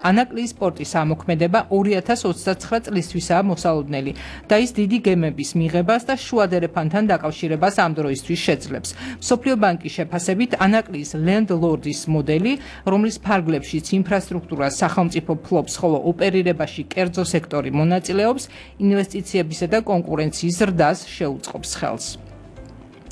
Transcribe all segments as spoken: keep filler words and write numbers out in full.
ანაკლიის პორტის ამოქმედება ორი ათას ოცდაცხრა წლისთვისაა მოსალოდნელი და ის დიდი გემების მიღებას და შუა დერეფანთან დაკავშირებას ამ დროისთვის შეძლებს. მსოფლიო ბანკის შეფასებით ანაკლიის ლენდ-ლორდის მოდელი, რომლის ფარგლებშიც ინფრასტრუქტურას სახელმწიფო ფლობს, ხოლო ოპერირებაში კერძო სექტორი მონაწილეობს, ინვესტიციებისა და კონკურენციის ზრდას შეუწყობს ხელს.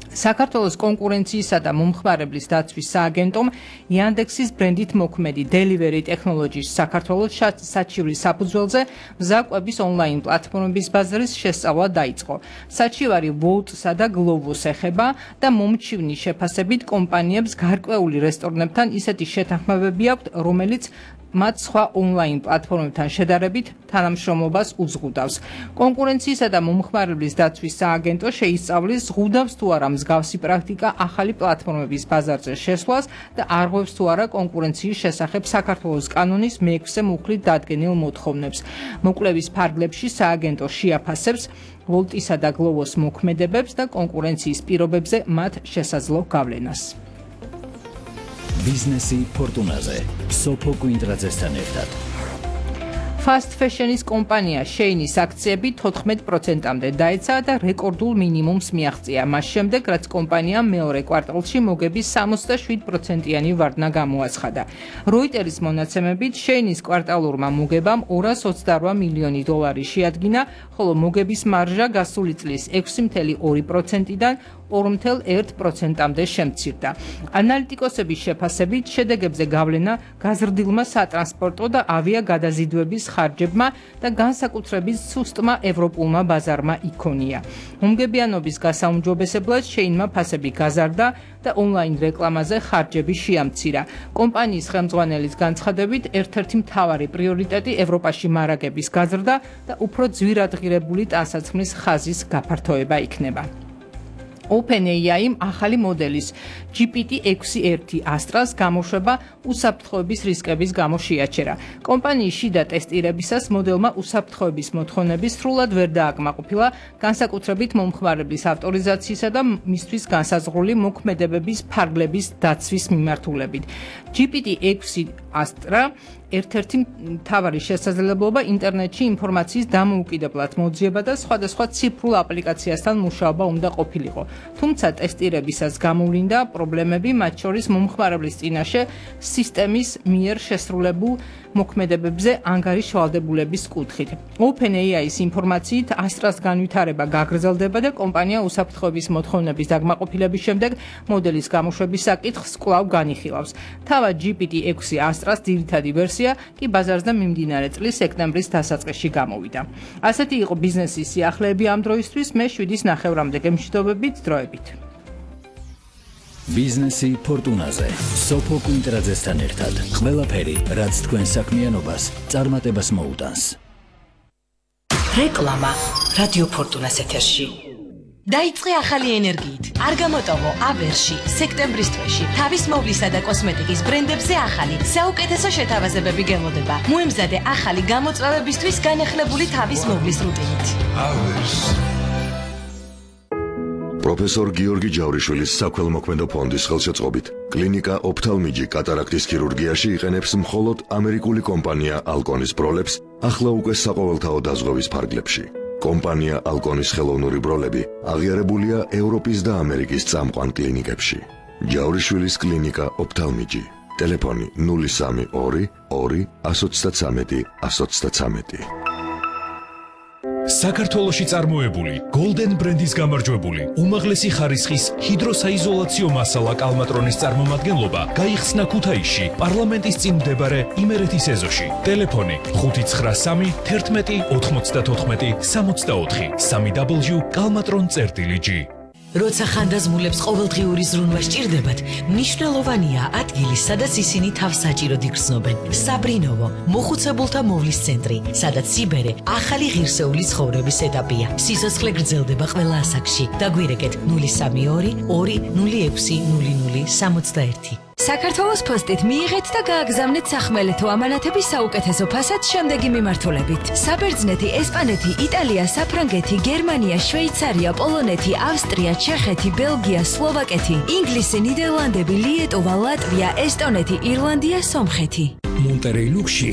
საქართველოს კონკურენციისა და მომხმარებლის დაცვის სააგენტომ Yandex-ის ბრენდით მოქმედი Delivery Technologies საქართველოს საჩივრის საფუძველზე მზაკვების ონლაინ პლატფორმების ბაზრის შესწავლა დაიწყო. საჩივარი Wolt-სა და Glovo-ს ეხება და მომჩივნის შეფასებით კომპანიებს გარკვეული რესტორნებთან ისეთი შეთანხმებები აქვთ, რომელიც მათ სხვა ონლაინ პლატფორმებთან შედარებით თანამშრომლობას უზღუდავს. კონკურენციისა და მომხმარებლის დაცვის სააგენტო შეისწავლის ზღუდავს თუ არა მსგავსი პრაქტიკა ახალი პლატფორმების ბაზარზე შესვლას და არღვევს თუ არა კონკურენციის შესახებ საქართველოს კანონის მეექვსე მუხლით დადგენილ მოთხოვნებს. მოკვლევის ფარგლებში სააგენტო შეაფასებს Wolt-ისა და Glovo-s მოქმედებებს და კონკურენციის პირობებზე მათ შესაძლო გავლენას. ბიზნესი ფორტუნაზე სოფო კვინტრაძესთან ერთად. Fast fashion-ის კომპანია Shein-ის აქციები თოთხმეტ პროცენტამდე დაეცა და რეკორდულ მინიმუმს მიაღწია. მას შემდეგ, რაც კომპანიამ მეორე კვარტალში მოგების სამოცდაშვიდ პროცენტიანი ვარდნა გამოაცხადა. Reuters-ის მონაცემებით Shein-ის კვარტალურმა მოგებამ ორას ოცდარვა მილიონი დოლარი შეადგინა, ხოლო მოგების მარჟა გასული წლის ექვსი მცდე ორი პროცენტიდან ორი მცდე ერთ პროცენტამდე შემცირდა. ანალიტიკოსების შეფასებით შედეგებზე გავლენა გაზრდილმა სატრანსპორტო და ავიაგადაზიდვების ხარჯებმა და განსაკუთრებით სუსტმა ევროპულმა ბაზარმა იქონია. მომგებიანობის გასაუმჯობესებლად Shein-მა ფასები გაზარდა და ონლაინ რეკლამაზე ხარჯები შეამცირა. კომპანიის ხელმძღვანელის განცხადებით, ერთ-ერთი მთავარი პრიორიტეტი ევროპაში მარაგების გაზრდა და უფრო ძვირადღირებული ტანსაცმლის ხაზის გაფართოება იქნება. OpenAI-იმ ახალი მოდელის ჯი პი ტი ექვსი ერთი Astra-ს გამოშვება უსაფრთხოების რისკების გამო შეაჩერა. კომპანიის შიდა ტესტირებისას მოდელმა უსაფრთხოების მოთხოვნები სრულად ვერ დააკმაყოფილა, განსაკუთრებით მომხმარებლის ავტორიზაციისა და მისთვის განსაზღვრული მოქმედებების ფარგლების დაცვის მიმართულებით. ჯი პი ტი ექვსი Astra ერთ-ერთი მთავარი შესაძლებლობა ინტერნეტში ინფორმაციის დამოუკიდებლად მოძიება და სხვადასხვა ციფრულ აპლიკაციასთან მუშაობა უნდა ყოფილიყო. თუმცა ტესტირებისას გამოვლინდა პრობლემები, მათ შორის მომხმარებლის წინაშე სისტემის მიერ შესრულებულ მოქმედებებზე ანგარიშ ვალდებულების კუთხით. OpenAI-ის ინფორმაციით Astra-ს განვითარება გაგრძელდება და კომპანია უსაფრთხოების მოთხოვნების დაკმაყოფილების შემდეგ მოდელის გამოშვების საკითხს კვლავ განიხილავს. თავად ჯი პი ტი ექვსი Astra-ს ძირითადი ვერსია კი ბაზარზე მიმდინარე წლის სექტემბრის დასაწყისში გამოვიდა. ასეთი იყო ბიზნესის სიახლეები ამ დროისთვის, მე შვიდის ნახევრამდე გემშვიდობებით დროებით. ბიზნესი ფორტუნაზე სოფო კვინტრაძესთან ერთად. ყველაფერი, რაც თქვენ საქმიანობას წარმატებას მოუტანს. რეკლამა რადიო ფორტუნას ეთერში. დაიწყე ახალი ენერგიით. არ გამოტოვო აბერში სექტემბრის თვეში თავის მოვლისა და კოსმეტიკის ბრენდებზე ახალი საუკეთესო შეთავაზებები გელოდება. მოემზადე ახალი გამოწვევებისთვის განახლებული თავის მოვლის რუტინით. პროფესორ გიორგი ჯავრიშვილის საქველმოქმედო ფონდის ხელშეწყობით კლინიკა ოფთალმიჯი კატარაქტის ქირურგიაში იყენებს მხოლოდ ამერიკული კომპანია ალკონის ბროლებს, ახლა უკვე საყოველთაო დაზღვევის ფარგლებში. კომპანია ალკონის ხელოვნური ბროლები აღიარებულია ევროპის და ამერიკის წამყვან კლინიკებში. ჯავრიშვილის კლინიკა ოფთალმიჯი. ტელეფონი ნული სამი ორი ორი ათს ოცდათრამეტი ათს ოცდათრამეტი. საქართველოში წარმოებული Golden ბრენდის გამარჯვებული უმაღლესი ხარისხის ჰიდროსაიზოლაციო მასალა კალმატრონის წარმომადგენლობა გაიხსნა ქუთაისში პარლამენტის წინ მდებარე იმერეთის ეზოში. ტელეფონი ხუთი ცხრა სამი თერთმეტი ოთხმოცდათოთხმეტი სამოცდაოთხი სამი დაბლიუ კალმატრონ წერტილი ჯი. როცა ხანდაზმულებს ყოველდღიური ზრუნვა სჭირდებათ, მნიშვნელოვანია ადგილი, სადაც ისინი თავს საჭიროდ იგრძნობენ. საბრინოვო, მოხუცებულთა მოვლის ცენტრი, სადაც სიბერე ახალი ღირსეული ცხოვრების ეტაპია. სიცოცხლე გრძელდება ყველა ასაკში. დაგვირეკეთ ნული სამი ორი ორი ნული ექვსი ნული ნული სამოცდაერთი. საქართველოს პოსტით მიიღეთ და გააგზავნეთ სახმელეთო ამანათების საუკეთესო ფასად შემდეგი მიმართულებით. საბერძნეთი, ესპანეთი, იტალია, საფრანგეთი, გერმანია, შვეიცარია, პოლონეთი, ავსტრია, ჩეხეთი, ბელგია, სლოვაკეთი, ინგლისი, ნიდერლანდები, ლიეტუვა, ლატვია, ესტონეთი, ირლანდია, სომხეთი. მონტერეი ლუქსში